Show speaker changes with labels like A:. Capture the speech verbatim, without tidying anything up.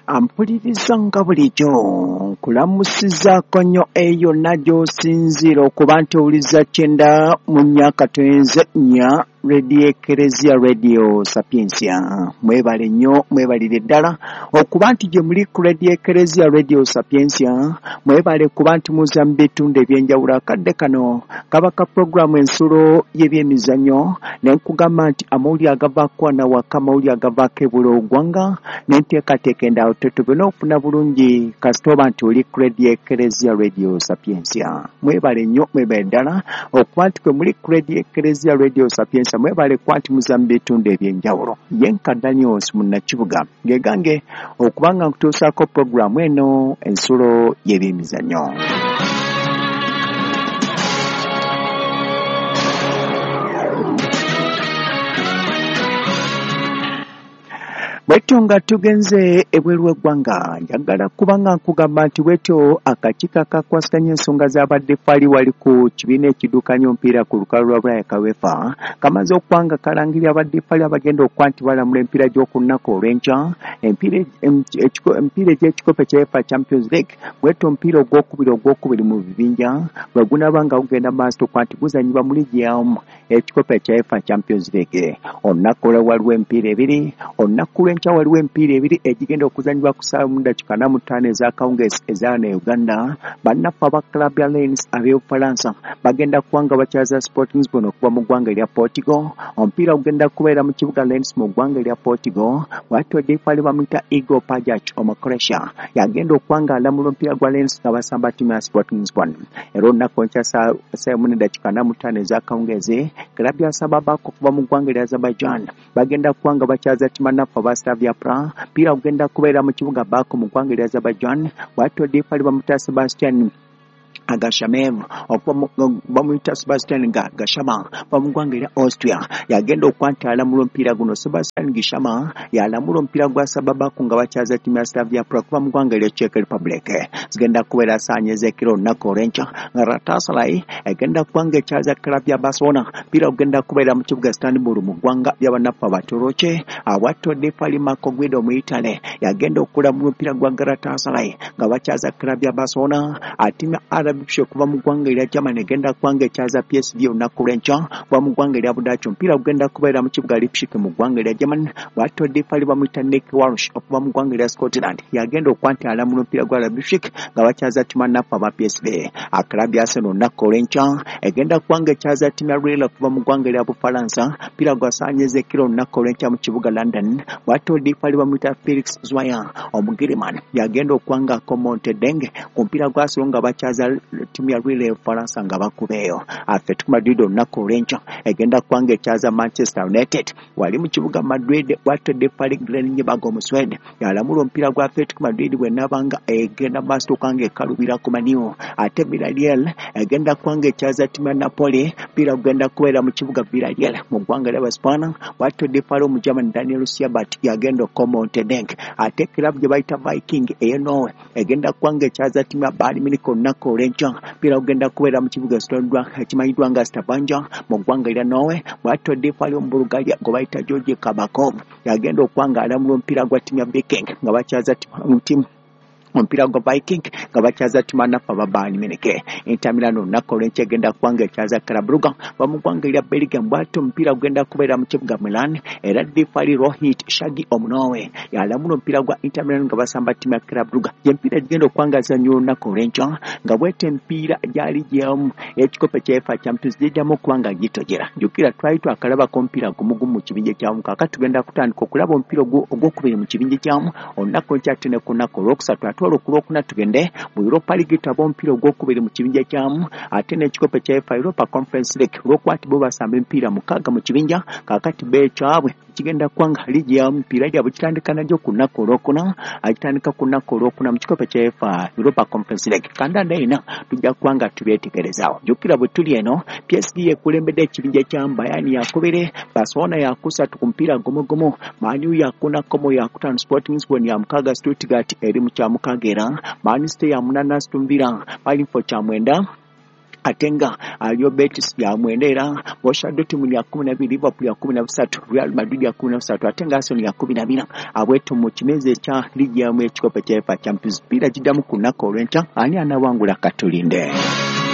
A: Ampuliriza nga bulijjo nkulamusizaako nnyo eyo yonna gy'osinziira okuba nti owuliza kyenda mu nnya katonze nnya Radio Ekereziya Radio Sapientia. Mwebale nnyo, mwebalire ddala okuba nti gye muli ku Radio Ekereziya Radio Sapientia. Mwebale kuba nti muza mu bitundu ebyenjawulo. Akadde kano kaba ka puroguramu ensulo y'ebyemizannyo, ne nkugamba nti amawulire agavaako wano awaka, amawulire agavaako ebula oggwanga n'enteekateeka endala tetubena okufuna bulungi kasita oba nti oli ku Radio Ekereziya Radio Sapientia. Mwebale nnyo, mwebale ddala okuba nti kwe muli ku Radio Ekereziya Radio Sapientia. Mwebale kuba nti muza mu bitundu ebyenjawulo. Ye nka Daniels Munnakibuga ngegange okuba nga nkutuusaako puroguramu eno ensulo y'ebyemizannyo. Bwetyo nga tugenze ebweru w'eggwanga, njagala kuba nga nkugamba nti bwetyo akakiiko akakwasaganya ensonga z'abaddefaali wali ku kibiina ekiddukanya omupiira ku lukalu lwa Bulaya ka UEFA kamaze okuba nga kalangirira abaddefaali abagenda okuba nti balamula emipiira gy'oku lunaku olw'enkya, emipiira egy'ekikopo kya UEFA Champions League. Bwetyo omupiira ogwokubiri ogwokubiri mu bibinja bwe gunaaba nga gugenda maaso okuba nti guzannyibwa mu liigi yamu ekikopo kya UEFA Champions League. Olunaku olwo waliwo emipiira ebiri, olunaku lw'enkya waliwo emipiira ebiri egigenda okuzannyibwa ku ssaawa mu ddakiika ana mu ttaano ez'akawungeezi eza wano e Uganda. Bannaffe aba Club ya Lens ab'Obufalansa bagenda kuba nga bakyaza Sporting Lisbon okuva mu ggwanga erya Portugal. Omupiira gugenda kubeera mu kibuga Lens mu ggwanga erya Portugal. Bw'atyo ddefaali bamuyita Igor Pajac Omukroatia yagenda okuba nga alamula omupiira gwa Lens nga basamba ttiimu ya Sporting Lisbon. Era olunaku olw'enkya ssaawa emu n'eddakiika ana mu ttaano ez'akawungeezi, Club ya Sababak okuva mu ggwanga erya Azerbaijan bagenda kuba nga bakyaza ttiimu bannaffe aba Slavia Praha. Mpira gugenda kubeera mu kibuga Baku mu ggwanga erya Azerbaijan. Bw'atyo ddefaali bamuyita Sebastian Agashamev bamuyita Sebastian Gashama mu ggwanga erya Austria yagenda okuba nti alamula omupiira guno. Sebastian Gishama yalamula omupiira gwa Sababaku nga bakyaza ttiimu ya Slavia Praha okuva mu ggwanga erya Czech Republic. Zigenda kubeera ssaawa ez'ekiro olunaku olw'enkya nga Galatasaray egenda kuba nga ekyaza Club ya Barcelona. Mpira gugenda kubeera mu kibuga Istanbul mu ggwanga ly'abannaffe Abatoroki. Bw'atyo ddefaali Marco Guido Omuyitale yagenda okulamula omupiira gwa Galatasaray nga bakyaza Club ya Barcelona. Ttiimu ya R B okuva mu ggwanga erya Germany egenda kuba nga ekyaza P S V olunaku lw'enkya okuva mu ggwanga erya Budaaki. Omupiira gugenda kubeera mu kibuga Leipzig mu ggwanga erya Germany. Bw'atyo ddefaali bamuyita Nick Walsh okuva mu ggwanga erya Scotland yagenda okuba nti alamula omupiira gwa Leipzig nga bakyaza ttiimu bannaffe aba P S V. Club ya Arsenal olunaku olw'enkya egenda kuba nga ekyaza ttiimu ya Lille okuva mu ggwanga erya Bufalansa. Omupiira gwa ssaawa ez'ekiro olunaku olw'enkya mu kibuga London. Bw'atyo ddefaali bamuyita Felix Zwayer Omugiriman yagenda okuba nga akomonte Deng ku mupiira gwa Arsenal nga bakyaza ttiimu ya Lille y'Obufalansa nga bakubeeyo. Atletico Madrid olunaku olw'enkya egenda kuba nga ekyaza Manchester United wali mu kibuga Madrid. Bw'atyo ddefaali Glenn Nyebag Omuswede yalamula omupiira gwa Atletico Madrid bw'enaaba nga egenda maaso okuba nga ekalubira ku Man U. Ate Villarreal egenda kuba nga ekyaza ttiimu ya Napoli. Omupiira gugenda kubeera mu kibuga Villarreal mu ggwanga ly'Abaspaana. Bw'atyo ddefaali Omugerman Daniel Siebert yagenda okukomonte Deng. Ate club gye bayita Viking ey'e Norway egenda kuba nga ekyaza ttiimu ya Bayern Munich olunaku olw'enkya. Omupiira gugenda kubeera mu kibuga ekimanyiddwa nga Stavanger mu ggwanga erya Norway. Bw'atyo ddefaali Omubulgaria gwe bayita George Kabakov yagenda okuba nga alamula omupiira gwa ttiimu ya Viking nga bakyaza ttiimu omupiira gwa Viking nga bakyaza ttiimu bannaffe aba Bayern Munich. Inter Milan olunaku olw'enkya egenda kuba nga ekyaza Club Brugge okuva mu ggwanga erya Belgium. Bw'atyo omupiira gugenda kubeera mu kibuga Milan. Era ddefaali Rohit Shagi Omunorway yalamula omupiira gwa Inter Milan nga basamba ttiimu ya Club Brugge. Gy'emipiira egigenda okuba nga gizannyibwa olunaku olw'enkya nga bw'etyo emipiira gyali gyamu ekikopo kya UEFA Champions giddamu okuba nga gitojera. Jjukira twali twakalabako omupiira gumu gumu mu kibinja kyamu, kaakati tugenda kutandika okulaba omupiira ogwokubiri mu kibinja kyamu olunaku olw'enkya ate ne ku lunaku olwokusatu. Ate olwo ku lwokuna tugende mu Europa League tulabe omupiira ogwokubiri mu kibinja kyamu ate n'ekikopo kya UEFA Europa Conference League. Olw'okuba nti bo basamba emipiira mukaaga mu kibinja, kaakati bo ekyabwe kigenda kuba nga liigi ya mupiira gyabwe kitandika nagyo ku lunaku olwokuna, agitandika ku lunaku olwokuna mu kikopo kya UEFA Europa Conference League. Kandanda ena tujja kuba nga tubyetegerezaawo. Jjukira bwe tuli eno P S G yekulembedde ekibinja kya Bayern yakubiri, Barcelona yakusatu ku mupiira gumu gumu, Man U yakuna Como yakutaano, Sporting Lisbon ya mukaaga, Stuttgart eri mu kya mukaaga era Man City ya munaana, Aston Villa bali mu kifo kya mwenda. Ate nga Real Betis ya mwenda, era Borussia Dortmund ya kumi na bbiri, Liverpool ya kumi na busatu, Real Madrid ya kumi na busatu, ate nga Arsenal ya kumi na bina. Abwetu mu kimeza ekya liigi yamu ekikopo ekya UEFA Champions, piira giddamu ku lunaku olw'enkya. Ani anawangula? Katulinde.